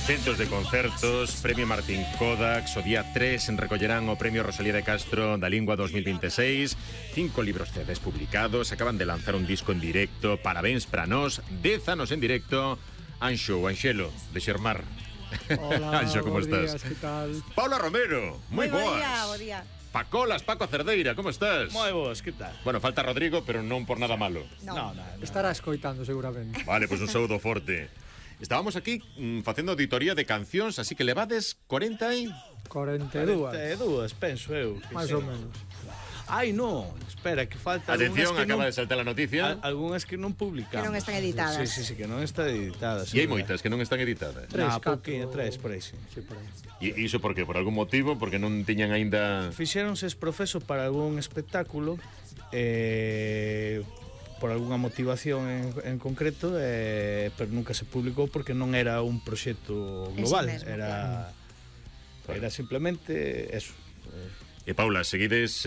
Centos de concertos, Premio Martín Kodax, o día 3 recollerán o Premio Rosalía de Castro da Lingua 2026, 5 libros CDs publicados, acaban de lanzar un disco en directo, parabéns para nós, 10 anos en directo, Anxo, o Anxelo, de Xermar. Hola, Anxo, como estás? días, que tal? Paula Romero, moi boas. Bo día. Pacolas, Paco Cerdeira, como estás? Moi boas, que tal? Bueno, falta Rodrigo, pero non por nada malo. No. Estará escoitando seguramente. Vale, pois un saúdo forte. Estábamos aquí facendo auditoría de cancións, así que levades 40 e... 42. 42, penso eu. Máis ou menos. Ai, non, espera, que falta Atención, algunhas que acaba non, de saltar a noticia. algunhas que non publicamos. Que non están editadas. Sí, que non están editadas. E hai moitas que non están editadas. Pouquinho, tres, por aí, sí. Sí, por aí. E iso por qué? Por algún motivo? Porque non tiñan aínda... Fixéronse es profeso para algún espectáculo, por algunha motivación en concreto, pero nunca se publicou porque non era un proxecto global, mesmo, era simplemente eso. E Paula, seguides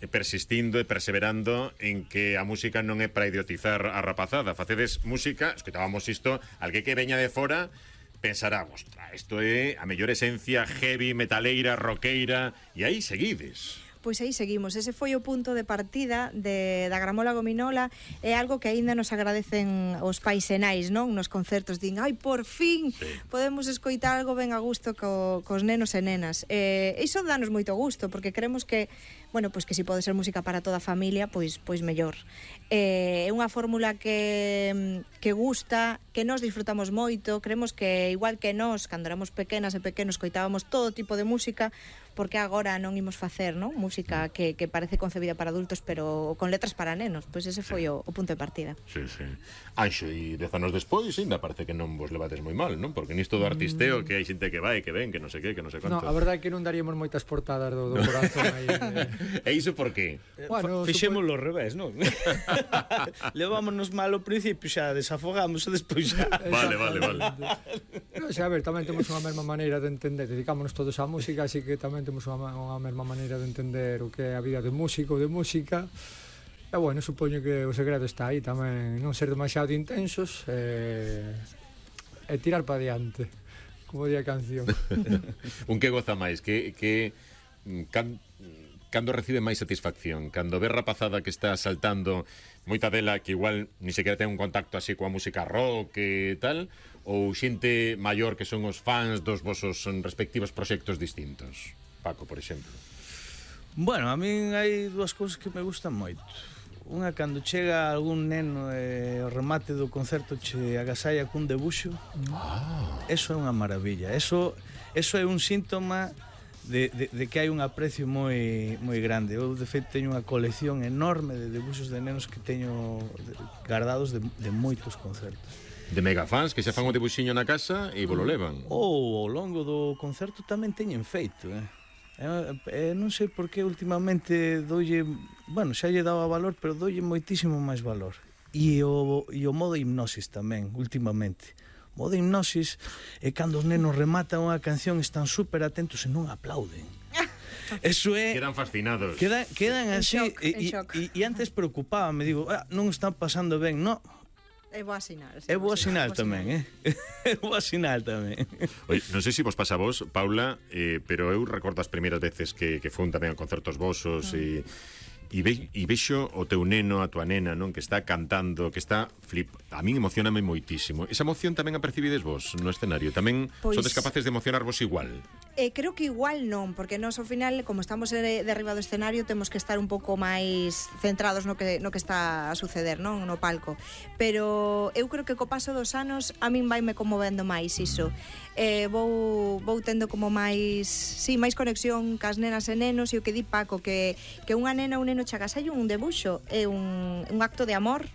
persistindo e perseverando en que a música non é para idiotizar a rapazada. Facedes música, escoitábamos isto, alguén que veña de fora pensará, ostra, isto é a mellor esencia heavy, metaleira, roqueira, e aí seguides. Pois aí seguimos, ese foi o punto de partida da Gramola Gominola. É algo que aínda nos agradecen os pais e nais, non? Nos concertos din, ai, por fin podemos escoitar algo ben a gusto cos nenos e nenas. Iso danos moito gusto, porque creemos que, bueno, pois que si pode ser música para toda a familia, pois mellor. É unha fórmula que gusta, que nós disfrutamos moito. Creemos que igual que nós, cando éramos pequenas e pequenos, coitábamos todo tipo de música, porque agora non imos facer, non? Música que parece concebida para adultos, pero con letras para nenos. Pois ese foi o punto de partida. Sí. Anxo, e 10 anos despois ainda parece que non vos levades moi mal, non? Porque nisto do artisteo que hai xente que vai, que ven, que non sei que non sei No, quanto. a verdade é que non daríamos moitas portadas do corazón aí. E iso por qué? Bueno, Fixémoslo ao revés, non? Levámonos mal ao principio, xa desafogamos e despois xa. Vale. No, xa, a ver, tamén temos unha mesma maneira de entender, dedicámonos todos á música, así que tamén temos unha mesma maneira de entender o que é a vida de músico, de música. E bueno, supoño que o segredo está aí tamén, non ser demasiado intensos e tirar para diante, como di a canción. Un que goza máis, cando recibe máis satisfacción, cando ve rapazada que está saltando, moita dela que igual ni sequera ten un contacto así coa música rock e tal, ou xente maior que son os fans dos vosos respectivos proxectos distintos. Paco, por exemplo. Bueno, a min hai dúas cousas que me gustan moito. Unha, cando chega algún neno e ao remate do concerto che agasalla cun debuxo, eso é unha maravilla. Eso é un síntoma de que hai un aprecio moi grande. Eu, de feito, teño unha colección enorme de debuxos de nenos que teño guardados de moitos concertos. De megafans que xa fan o debuxiño na casa e volo levan. Ou ao longo do concerto tamén teñen feito, non sei por que últimamente doulle, bueno, xa lle daba valor, pero doulle moitísimo máis valor. E o modo hipnosis tamén, últimamente. O modo hipnosis é cando os nenos rematan unha canción, están super atentos e non aplauden. Eso é... Quedan fascinados. Quedan así, en shock. e antes preocupábame, digo, non están pasando ben, non. É boa sinal. É boa sinal tamén, É boa sinal tamén. Oye, non sei se vos pasa a vos, Paula, pero eu recordo as primeiras veces que fun tamén a concertos vosos e vexo o teu neno, a tua nena, non, que está cantando, que está a min emocioname moitísimo. Esa emoción tamén a percibides vos no escenario? Tamén sodes capaces de emocionarvos igual? Creo que igual non, porque nós ao final, como estamos de arriba do escenario, temos que estar un pouco máis centrados no que está a suceder, non, no palco. Pero eu creo que co paso dos anos a min vaime conmovendo máis iso. Vou tendo como máis conexión cas nenas e nenos, e o que di Paco, que unha nena ou un neno chagasalle un debuxo é un acto de amor,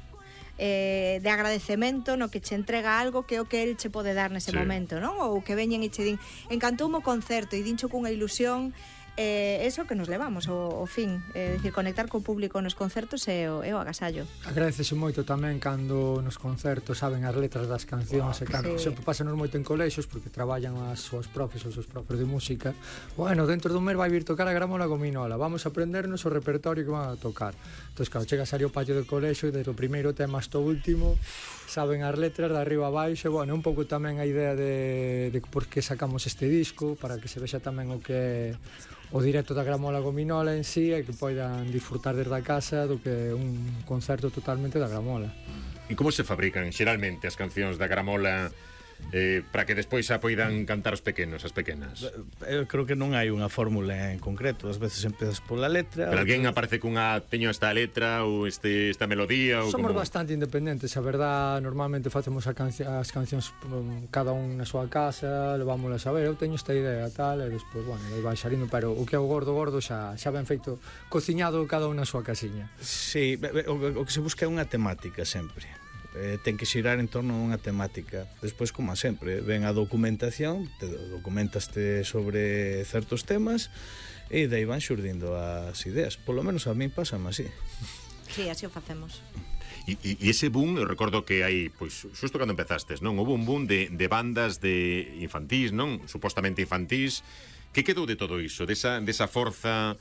de agradecemento, no que che entrega algo que é o que el che pode dar nese momento, non? Ou que veñen e che din, encantoume o concerto, e dincho cunha ilusión. Eso que nos levamos ao fin, decir, conectar co público nos concertos é o agasallo. Agradecese moito tamén cando nos concertos saben as letras das cancións, e cando sempre pásanos moito en colexios porque traballan os profes de música. Bueno, dentro dun mes vai vir tocar a Gramola Gominola, vamos a aprendernos o repertorio que van a tocar. Entón, cando chegas ali ao patio do colexio, desde o primeiro tema hasta o último, saben as letras de arriba a baixo, e, bueno, un pouco tamén a idea de por que sacamos este disco, para que se vexa tamén o que é o directo da Gramola Gominola en sí, e que poidan disfrutar desde a casa do que é un concerto totalmente da Gramola. E como se fabrican xeralmente as cancións da Gramola para que despois a poidan cantar os pequenos, as pequenas? Eu creo que non hai unha fórmula en concreto. Ás veces empezas pola letra. Pero alguén aparece cunha teño esta letra ou esta melodía ou Somos como... bastante independentes, a verdad, normalmente facemos as cancións cada un na súa casa, levámolas a ver, eu teño esta idea tal, e despois, bueno, aí vai xarindo, pero o que é o gordo xa ben feito, cociñado cada un na súa casiña. Sí, o que se busca é unha temática sempre. Ten que xirar en torno a unha temática. Despois, como sempre, ven a documentación, te documentaste sobre certos temas e dai van xurdindo as ideas. Polo menos a min pásame así. Sí, así o facemos. E ese boom, eu recordo que hai, pois, xusto cando empezastes, non? Houve un boom de bandas de infantís, non? Supostamente infantís. Que quedou de todo iso? Desa forza,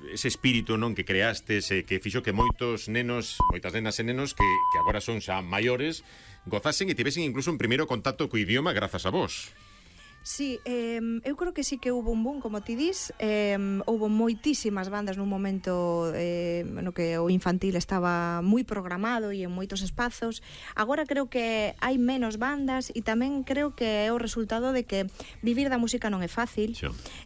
ese espírito, non, que creastes, que fixo que moitos nenos, moitas nenas e nenos que agora son xa maiores, gozasen e tivesen incluso un primeiro contacto co idioma grazas a vos. Sí, eu creo que sí que hubo un boom, como ti dis. Houbo moitísimas bandas nun momento no que o infantil estaba moi programado e en moitos espazos. Agora creo que hai menos bandas e tamén creo que é o resultado de que vivir da música non é fácil,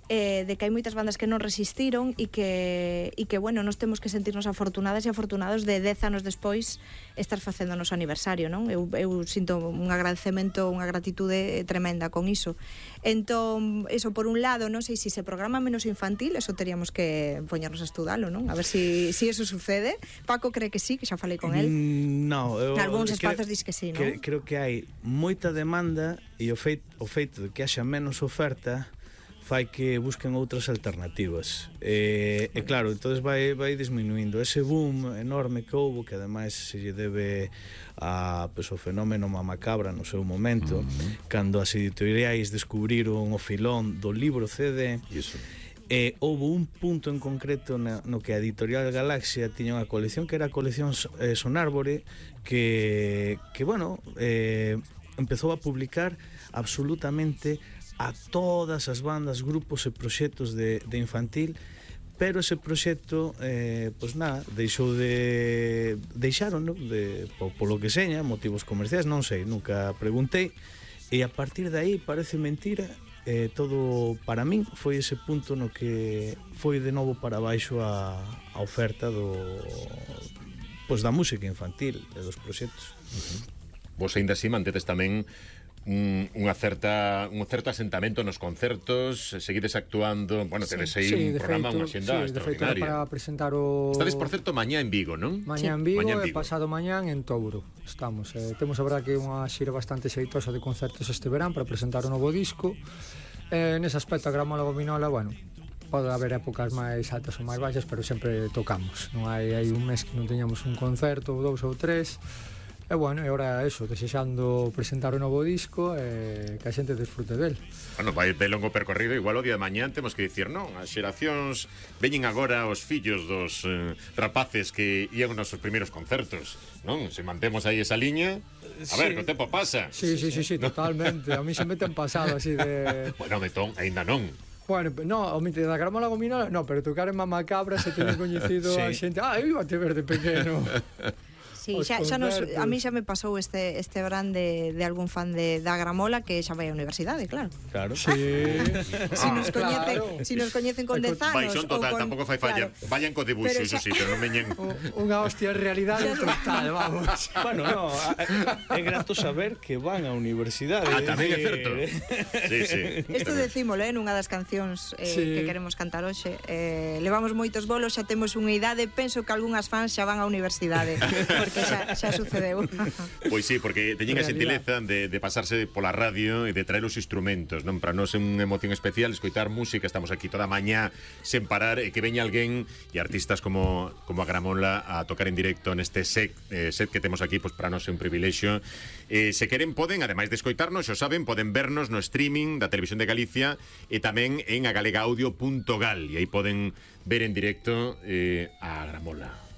de que hai moitas bandas que non resistiron e que bueno, nos temos que sentirnos afortunadas e afortunados de 10 anos despois estar facendo o noso aniversario, non? Eu sinto un agradecemento, unha gratitude tremenda con iso. Entón, eso por un lado, non sei se se programa menos infantil, eso teríamos que poñernos a estudalo, non? A ver si eso sucede. Paco cree que sí, que xa falei con él. No, en algúns espazos dis que sí, non? Creo que hai moita demanda e o feito de que haxa menos oferta fai que busquen outras alternativas. E claro, entonces vai disminuindo ese boom enorme que houbo, que ademais se lle debe a o fenómeno Mamacabra no seu momento, cando as editoriais descubriron o filón do libro CD. Houve un punto en concreto no que a Editorial Galaxia tiña unha colección que era a colección Sonárbore, que bueno, empezou a publicar absolutamente a todas as bandas, grupos e proxectos de infantil, pero ese proxecto pois nada, deixaron, non? Polo que seña, motivos comerciais, non sei, nunca preguntei, e a partir de aí parece mentira, todo para min foi ese punto no que foi de novo para baixo a oferta pois da música infantil e dos proxectos. Vos ainda así mantedes tamén un certo asentamento nos concertos, seguides actuando, bueno, tedes aí un programa, unha xenda extraordinaria. Para presentar o... Estades, por certo, mañá en Vigo, non? Mañá en Vigo e pasado mañán en Touro. Estamos, temos a verdad que unha xira bastante xeitosa de concertos este verán para presentar o novo disco. Nese aspecto a Gramola Gominola, bueno, pode haber épocas máis altas ou máis baixas, pero sempre tocamos. Non hai un mes que non teñamos un concerto, ou 2 ou 3. E bueno, e ora eso, desexando presentar o novo disco e que a xente desfrute del. Bueno, vai de longo percorrido, igual o día de mañán temos que dicir, non, as xeracións veñen agora os fillos dos rapaces que ían nos seus primeiros concertos, non? Se mantemos aí esa liña, a ver, que o tempo pasa. Sí, totalmente. A mí se me ten pasado así de... Bueno, metón, aínda non. Bueno, no, o mite da Gramola Gominola, no, pero tocar en Mamacabra se teñen coñecido a xente. Eu iba a te ver de pequeno. Sí, a mí xa me pasou este verán de algún fan da Gramola que xa vai á universidade, claro. Claro. Sí. Si nos coñecen con 10 anos. Baixón total, tampouco fai falla. Vayan co debuxo, iso sí, pero non veñen. Unha hostia en realidade total, vamos. Bueno, no, é grato saber que van á universidade. Tamén é certo. Sí. Isto decímolo, nunha das cancións que queremos cantar hoxe. Levamos moitos bolos, xa temos unha idade, penso que algunhas fans xa van á universidade, porque xa sucedeu. Pois sí, porque teñen a xentileza de pasarse pola radio e de traer os instrumentos, non? Para nós é unha emoción especial escoitar música, estamos aquí toda mañá sen parar e que veña alguén e artistas como a Gramola a tocar en directo neste set que temos aquí, pois para nós é un privilexio. Se queren poden, ademais de escoitarnos, xo saben, poden vernos no streaming da Televisión de Galicia e tamén en agalegaudio.gal e aí poden ver en directo a Gramola.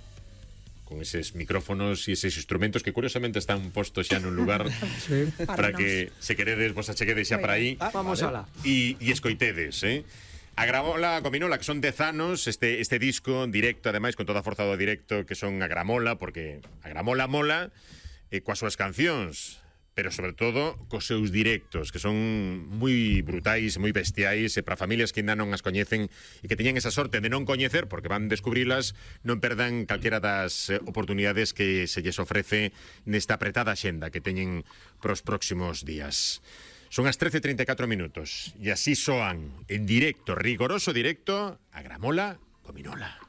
con eses micrófonos e eses instrumentos que curiosamente están postos xa nun lugar Sí. para que se queredes vos acheguedes xa para aí Vamos alá. e escoitedes, A Gramola, Gominola, que son 10 anos, este disco directo, ademais, con toda a forza do directo, que son a Gramola, porque a Gramola mola coas súas cancións, pero sobre todo cos seus directos, que son moi brutais, moi bestiais, e para familias que ainda non as coñecen e que teñen esa sorte de non coñecer, porque van descubrilas, non perdan calquera das oportunidades que se lles ofrece nesta apretada xenda que teñen pros próximos días. Son as 13:34 minutos e así soan en directo, rigoroso directo, a Gramola Gominola.